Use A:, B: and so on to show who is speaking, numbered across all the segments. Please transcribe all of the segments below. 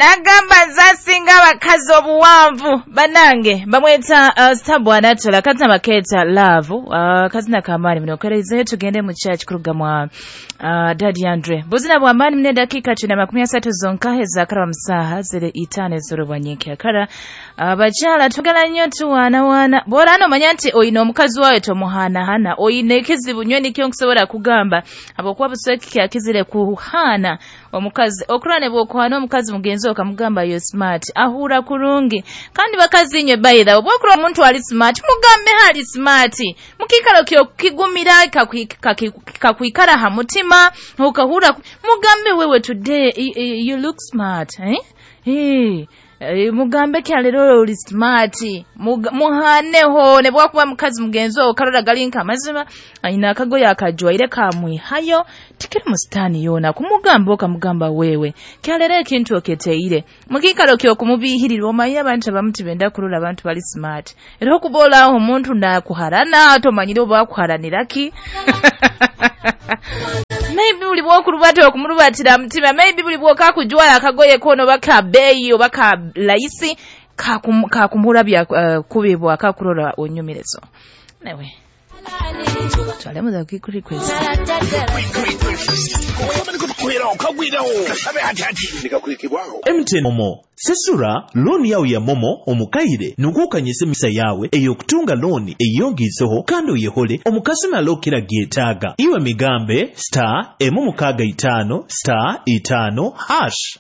A: Nagamba nzasinga abakazi obuwanvu banange bamweta Stabwa Anatola kazina baketa love kazina kamani muno tugende mu church kuruga mwa Daddy Andre buzina bwa mani mne dakika 30 zonka ezakara msaha zile itane zorobanyike akara abakyala tugala nnyo tuwaana waana bw'ora ano manya nti oyina omukazi wawe tomuhanahana oyina ekizibu nnyo nikyo nkusobola kugamba habwokuba busweki kyakizire kuhana omukazi okurane bw'okuhana omukazi mugenzi okamugamba yo smart ahura kurungi kandi bakazi nywe bayira obwokura omuntu ali smart mugambe hali smart mukikalo kyo kigumira kakwikara ha mutima ukahura mugambe wewe today you look smart eh hey. Mugambe kyalero oli smart muhaneho ne bwakuba mukazi mugenzo okarora galinka amazima ayina akagoya akajwaire kamwihayo tikiri mustani yona kumugamba okamugamba wewe kyalero ekintu oketeire mukikalo kyo kumubihirirwa omanyi abantu abamuti benda kurora abantu bali smart era okubola aho omuntu nakuharana tomanyire oba akuharaniraki maybe buli bwokulubata okumurubatira mutima maybe buli bwokakujwala akagoye kono baka beyi obaka laisi kakumurabya kubibwa akakurora onyumirezo newe twalemuza request
B: MTN Momo sesura looni yawe ya Momo omukaire nukukanyise misa yawe eyokutunga looni eyongizeho kandi oyehole omukasima lokira gyetaaga iwe migambe star emu6 star 5 hash.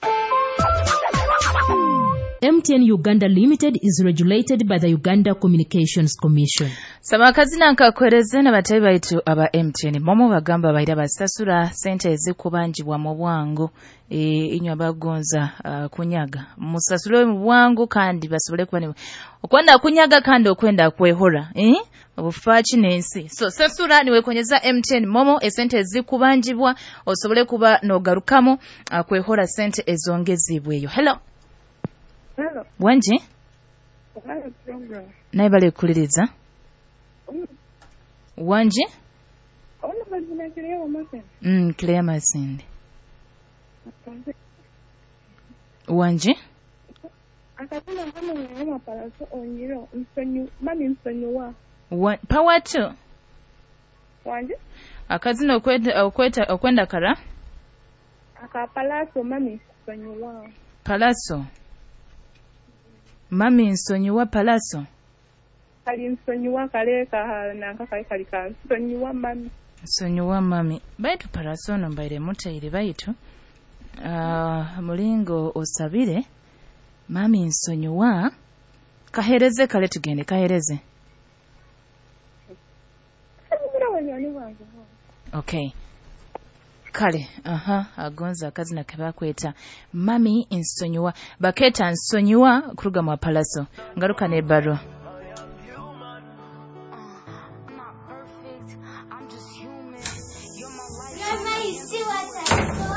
C: MTN Uganda Limited is regulated by the Uganda Communications Commission.
A: Samakazina nkakwereze na batayi baitu aba MTN Momo bagamba baira basasura sente ezikubanjibwa mu bwangu inywa bagonza kunyaga musasule mu bwangu kandi basobole kuba okwenda kunyaga kandi okwenda kwehora obufaaki n'ensi so sasura niwekonyeza MTN Momo esente ezikubanjibwa osobole kuba nogarukamu kwehora sente ezongezibweyo. Hello.
D: Hello.
A: Wanji? Naye bali kuliriza. Wanji? Kilea Masindi. Wanji? Power 2.
D: Wanji?
A: Akazina okwenda kara?
D: Akapalaso mami nsonyiwa.
A: Palaso. Mami nsonyiwa palaso.
D: Kali nsonyiwa kaleka nanka kali kali ka nsonyiwa mami.
A: Nsonyiwa mami. Baitu palaso no mbaire mutaire baitu. Mulingo osabire mami nsonyiwa kahereze kale tugende kahereze. Okay. Kale, aha, agonza akazina kebakweta mami nsonyiwa baketa nsonyiwa kuruga mu palaso ngaruka ne barua.